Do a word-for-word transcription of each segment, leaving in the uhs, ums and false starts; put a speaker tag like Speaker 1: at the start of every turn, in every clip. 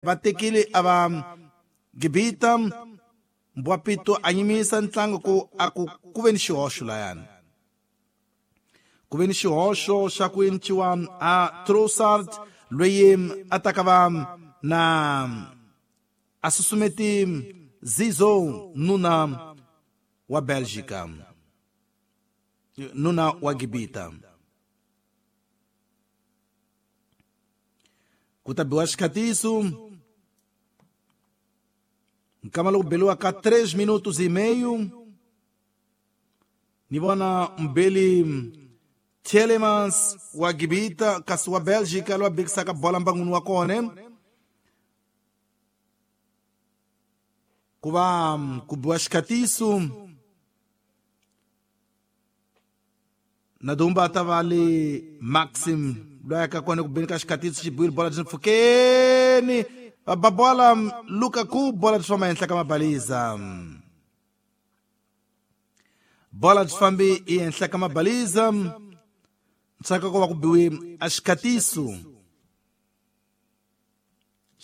Speaker 1: Va tekile a va Gibita Mbwapito a yimisa ntlangu ku a ku ku ve ni xihoxo layani ku ve ni xihoxo xa ku enciwa a Trossard loyi a taka va na a susumeti Zizo nuna wa Belgica nuna wa Gibita ku ta biwa xikhatiso nkama loko beliwa ka três minutos e meio ni vona mbeli Tielemans wa Gibita kasi wa Belgica loyi a bekisaka bola mbangwini wa kona ku va ku biwa xikhatiso na dumba ta va le Maxim loyi a ka kona ku beni ka xikhatiso xi biwile bola byi pfukeni va ba bola Lukaku bola byi famba ehenhla ka mabaliza bola byi fambi ehenhla ka mabaliza ntsaka ku va ku biwe a xikhatiso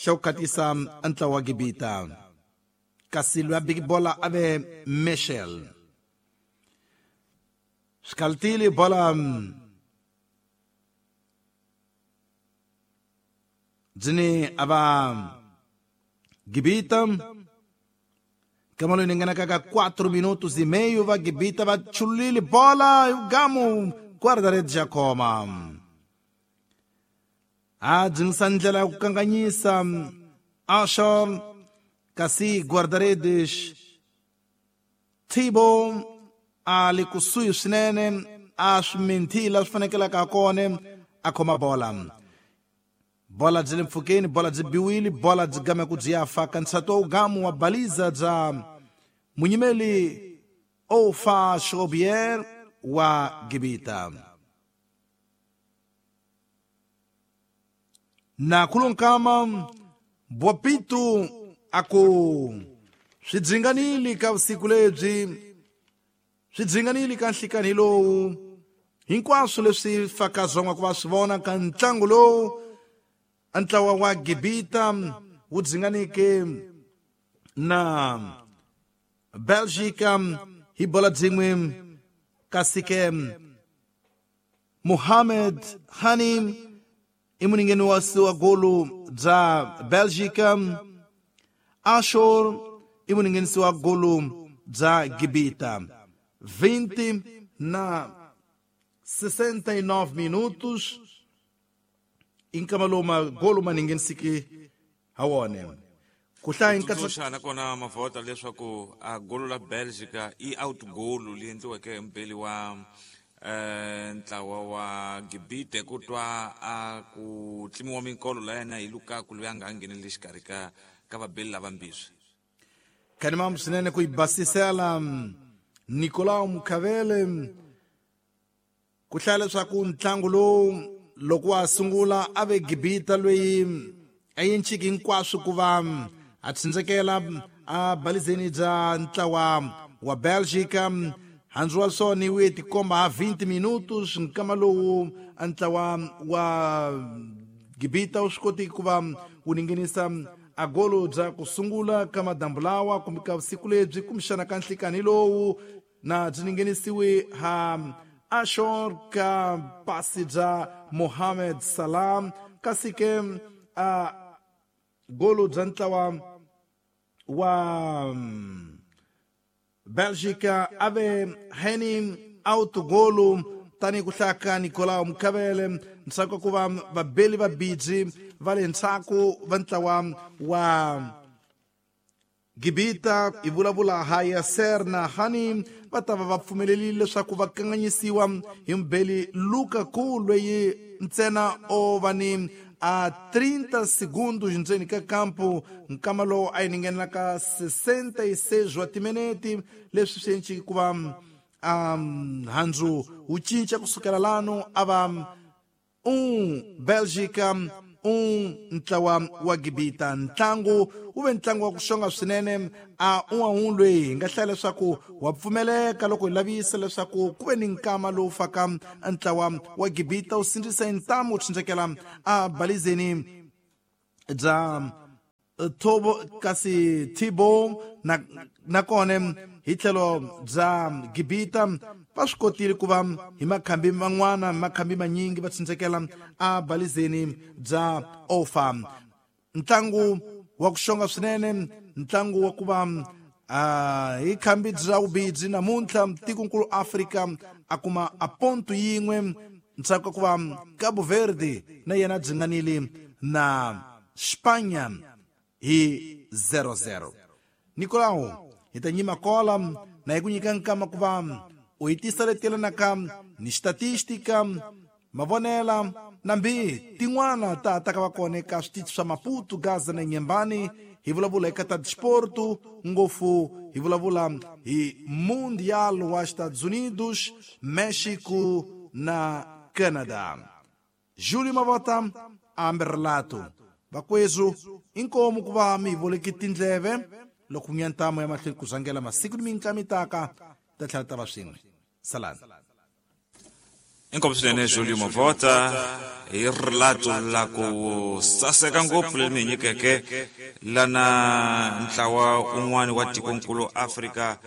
Speaker 1: xa ku khatisa ntlawa wa Gibita kasi loyi a beki bola a ve Michel swikalutile bola byini a va Gibita kama loyi ni nghenaka ka quatro minutos e meio va Gibita va chululile bola gamu guarda-redes ya khoma a dzingisa ndlela ya ku kanganyisa Ashor kasi guarda-redes Thibo a le kusuhi swinene a swi minthila swi fanekelaka kona a khoma bola bola byi le mpfhukeni bola byi biwile bola byi game ku byi ya faka ntshato wa gamu wa baliza bya munyimeli Ofa Shobier wa Gibita na kulunkama Bwapitu aku swi dzinganile ka vusiku lebyi swi dzinganile ka nhlikani lowu hinkwaswo leswi faka zonga ku va swi vona ka ntlangu lowu ntlawa wa Gibita wu dzinganike na Belgica hi bola byin'we kasi ke Mohamed Hani i muningeni wa wa golo bya Belgica Ashor i muninghenisi wa golo bya Gibita vinte na sessenta e nove minutos inkama lowu magolo ma ninghenisiki ha wona ku hlaya
Speaker 2: ntsundzuxa nakona mavhota leswaku a golo la Belgica i out goal leyi endliweke hi mubeli wa eh ntlawa wa Gibite ku twa a ku tlimiwa minkolo la yena hi Lukaku loyi a nga ngheneleli xikarhi ka ka vabeli lavambirhi
Speaker 1: khanimam swinene ku yi basisela Nicolau Mukhavele ku hlaya leswaku ntlangu lowu loko wa sungula a ve Gibita loyi a yenciki hinkwaswo ku va a tsindzekela a balizeni bya ntlawa wa Belgica handzu wa swona wu tikomba ha vinte minutos nkama lowu ntlawa wa Gibita wu swi koti ku va wu ningenisa a golo bya ku sungula ka madambu lawa kumbe ka vusiku lebyi kumbexana ka nhlikani lowu na byi ningenisiwe ha Ashor ka pasi bya Mohamed Salah kasi ke a golo bya ntlawa wa Belgica a ve Henny out golo tanihi ku hlaya ka Nicolau Mukhavele ntsako ku va vabeli va biji va le ndzhaku va ntlawa wa Gibita i vulavula ha Yasser na Hani va ta va va pfumelerile leswaku va kanganyisiwa hi mubeli Lukaku loyi ntsena o va ni a trinta segundos ndzeni ka kampo nkama lowu a yi ningenela ka sessenta e seis wa timinete leswi swi enciki ku va um, handzu wu cinca kusukela lano a va um Belgica um ntlawa wa Gibita ntlangu wu ve ntlangu wa ku xonga swinene a un'we loyi hi nga hlaya leswaku wa pfumeleka loko hi lavisa leswaku ku ve ni nkama lowu faka ntlawa wa Gibita wu sindzisa hi ntamu wu tsindzekela a balizeni bya Tobo kasi Thibaut na nakona hi tlhelo bya Gibita va swi kotile ku va hi makhambi man'wana makhambi manyingi va tshunxekela a balizeni bya Ofa. Ntlangu wa ku xonga swinene, ntlangu wa ku va hi khambi bya vubidzi namuntlha tikonkulu Afrika a kuma a ponto yin'we ntsako ku va Cabo Verde na yena dzinganile na Spanya hi zero zero. Nicolau hi ta nyima kola na hi ku nyika nkama ku va u hi tisa leti yelanaka ni statistika mavonela nambi tin'wana ta ta ka va kona eka switichi swa Maputo, Gaza na Nyembani. Hi vulavula eka ta disporto ngopfu, hi vulavula hi Mundial wa Estados Unidos, México na Canada. Júlio Mavota ambe relato vakwezu inkomu ku va mi voleki tindleve loko nyantamo ya mahlweni ku zangela masiku ni minkamitaka ta tlhela ta va swin'we. Salani.
Speaker 2: Inkomu swinene Júlio Mavota hi relato la ku saseka ngopfu leri mi nyikeke lana ntlawa un'wana wa tikonkulu Afrika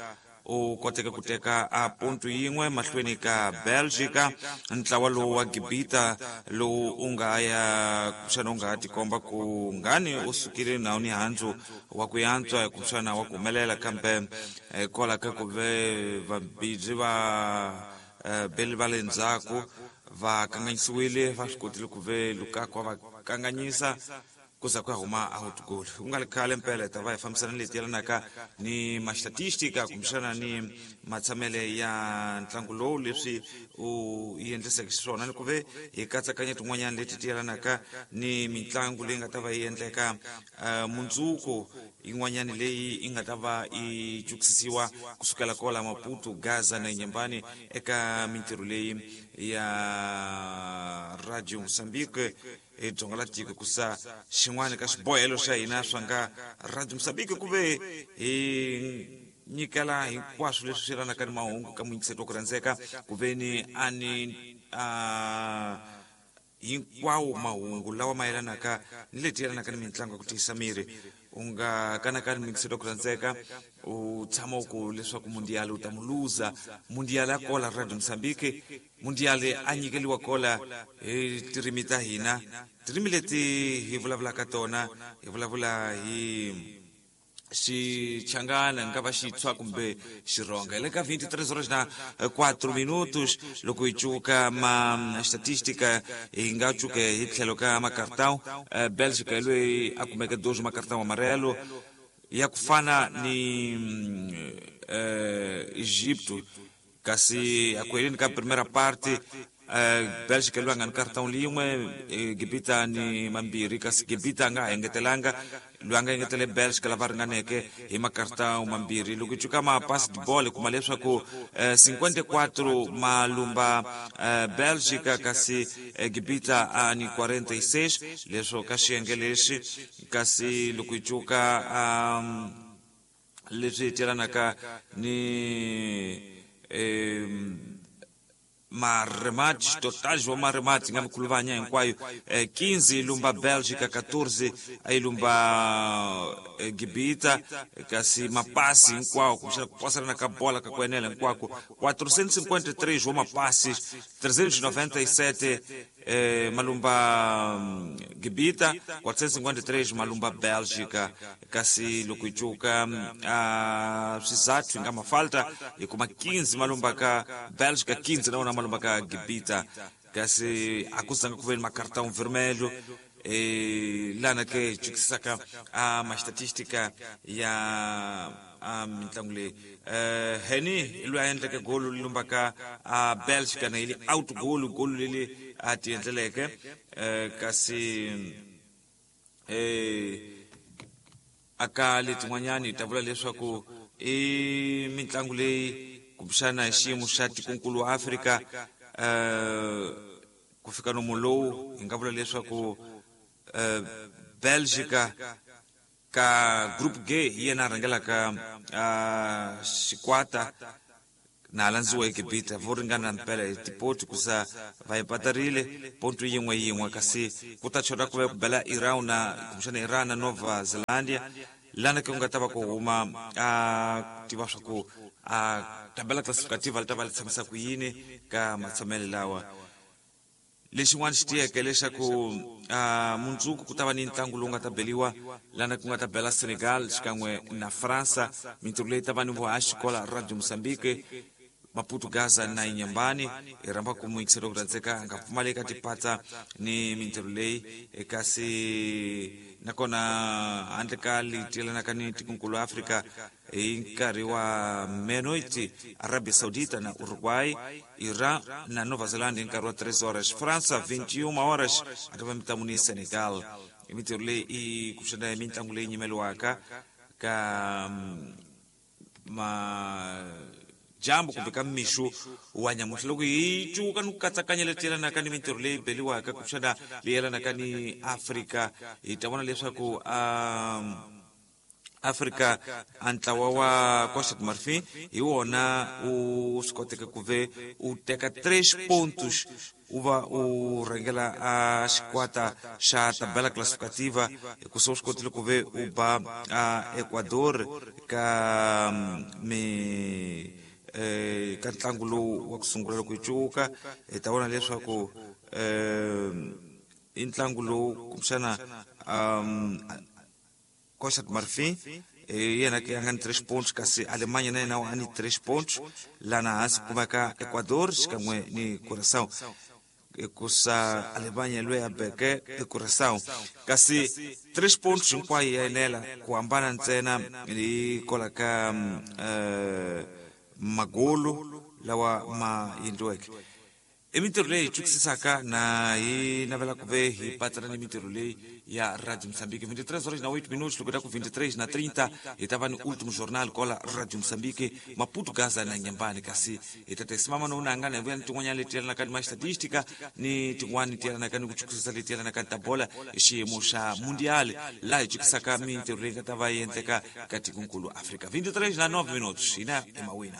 Speaker 2: u koteke ku teka a ponto yin'we mahlweni ka Belgica. Ntlawa lowu wa Gibita lowu u nga ya kumbexana u nga ha tikomba ku ngani u sukile nawu ni handzu wa ku yantswa kumbexana wa ku humelela, kambe kwala ka ku ve vabidzi va beli va le ndzhaku va kanganyisiwile, va swi kotile ku ve Lukaku va kanganyisa kuza ku ya huma out goal. Ku nga ri khale mpela hi ta va hi fambisana leti yelanaka ni mastatistika kumbexana ni matshamele ya ntlangu lowu leswi u endliseke xiswona, ni ku ve hi katsakanya tin'wanyana leti ti yelanaka ni mitlangu leyi nga ta va yi endleka mundzuku, yin'wanyana leyi yi nga ta va yi cukisisiwa kusukela kwala Maputo, Gaza na Nyembani eka mintirho leyi ya Radio Mozambique hi dzonga la tiko. Kusa xin'wana ka swibohelo swa hina swa nga Radio Mozambique ku ve hi nyikela hinkwaswo leswi swi yelanaka ni mahungu ka muyingiseti wa ku rhandzeka, ku ve ni a ni a hinkwawo mahungu lawa ma yelanaka ni leti yelanaka ni mitlangu ya ku tiyisa miri. U nga kanakani muyingiseti wa ku rhandzeka u tshama u ku leswaku mundial u ta mu luza. Mundial ya kola Radio Mozambique, mundial a nyikeliwa kola hi tirimi ta hina, tirimi leti hi vulavulaka tona, hi vulavula hi xichangana nga va xitshwa kumbe xironga. Hi le ka vinte e três horas na quatro minutos loko hi cuka ma statistika hi nga cuke hi tlhelo ka makartão. Bélgica hi loyi a kumeke dois makartão amarelo ya ku fana ni Egipto, kasi aku heleni ka primera parte Bélgica loyi a nga ni kartão lin'we, Gibita ni mambirhi, kasi Gibita a nga ha engetelanga, loyi a nga engetele Bélgica lava ringaneke hi makartão mambirhi. Loko hi cuka mapasi de bola kuma leswaku cinquenta e quatro malumba Bélgica, kasi Gibita a ni quarenta e seis leswo ka xiyenge lexi. Kasi loko hi cuka leswi yelanaka ni maremate totais wa maremate nga mikhuluvanya hinkwayo, quinze lumba Bélgica, quatorze a lumba Gibita, kasi mapasi hinkwawo kumbexana ku pasarana ka bola ka ku enela hinkwako quatrocentos e cinquenta e três wa mapasi, trezentos e noventa e sete eh, malumba Gibita, quatrocentos e cinquenta e três malumba Bélgica. Kasi loko hi cuka uh, swizathu hi nga mafalta hi kuma quinze malumba ka Bélgica, quinze na wona malumba ka Gibita, kasi a ku zanga ku ve ni makartão vermelho. Eh, lana ke hi cukisaka a mastatistika ya a mitlangu leyi. eh Heni hi loyi a endleke golo li lumbaka a Bélgica na yi out goal, golo leli a ti endleleke. eh kasi eh aka letin'wanyani hi ta vula leswaku i mitlangu leyi kumbexana hi xiyimo xa tikonkulu wa Afrika eh ku fika nomu lowu hi nga vula leswaku eh Bélgica ka group G hi yena a rhangelaka xikwata Na landziwa Egipita vo ringana mpela hi tipoti kusa va empatarile ponto yin'we yin'we, kasi ku ta chota ku va ku bela Iran na kumbexana Iran na Nova Zelandia, lana ke ku nga ta va ku huma a tiva swa ku a tabela classificativa li ta va li tshamisa ku yini ka matshamelo lawa. Lexin'wana xi tiyeke leswaku uh, mundzuku ku ta va ni ntlangu lowu nga ta beliwa lana ku nga ta bela Senegal xikan'we na Fransa. Mintirho leyi ta va ni vuhaxi kola Radio Mozambique, Maputo, Gaza na Inhambane. Hi rhamba ku muyingiseri ku rhandzeka a nga pfumali eka tipatsa ni mintirho leyi, kasi nakona handle ka leti yelanaka ni tikonkulu Afrika hi nkarhi wa menoiti, Arabia Saudita na Uruguay, Iran na Nova Zelanda hi nkarhi wa tres horas, França vinte e uma horas a ta va mitlangu ni Senegal. I mintirho leyi i kuxana hi mitlangu leyi nyimeliwaka ka ma jambo kumbe ka mixo wa nyamuntlha. Loko hi cuka ni ku katsakanya leti yelanaka ni mintirho leyi beliwaka kumbexana leyi yelanaka ni Afrika, hi ta vona leswaku um Afrika a ntlawa wa Costa do Marfim hi wona u swi koteke ku ve u teka tres pontos, u va u rhangela a xikwata xa tabela classificativa, hikusa u swi kotile ku ve u ba a Ecuador ka mi eh, ka ntlangu lowu wa ku sungula. Loko hi cuka hi ta vona leswaku eh, i ntlangu lowu kumbexana um, Costa do Marfim yena ke a nga ni tres pontos, kasi Alemanha na yena a ni tres pontos. Lana hansi kumeka Ecuador xikan'we ni Curaçao, hikusa Alemanha loyi a beke eCuraçao, kasi tres pontos hinkwayo ya enela, ku hambana ntsena hi kola ka uh, magolo lawa ma endliweke. I mintirho leyi hi twisisaka na hi navela ku ve hi patsana ni mintirho leyi ya Radio Moçambique. vinte e três horas na oito minutos. Loko ta ku vinte e três na trinta hi ta va ni último jornal kola Radio Moçambique, Maputo, Gaza na Inhambane, kasi hi ta tesimama no nangana hi vuya ni tin'wanyana leti yelanaka ni ma-statistica ni tin'wani ti yelanaka ni ku chukisisa leti yelanaka ni ta bola hi xiyimo xa mundial, laha hi chukisaka mintirho leyi nga ta va yi endleka ka tikonkulu Afrika. vinte e três na nove minutos, hina i mawina.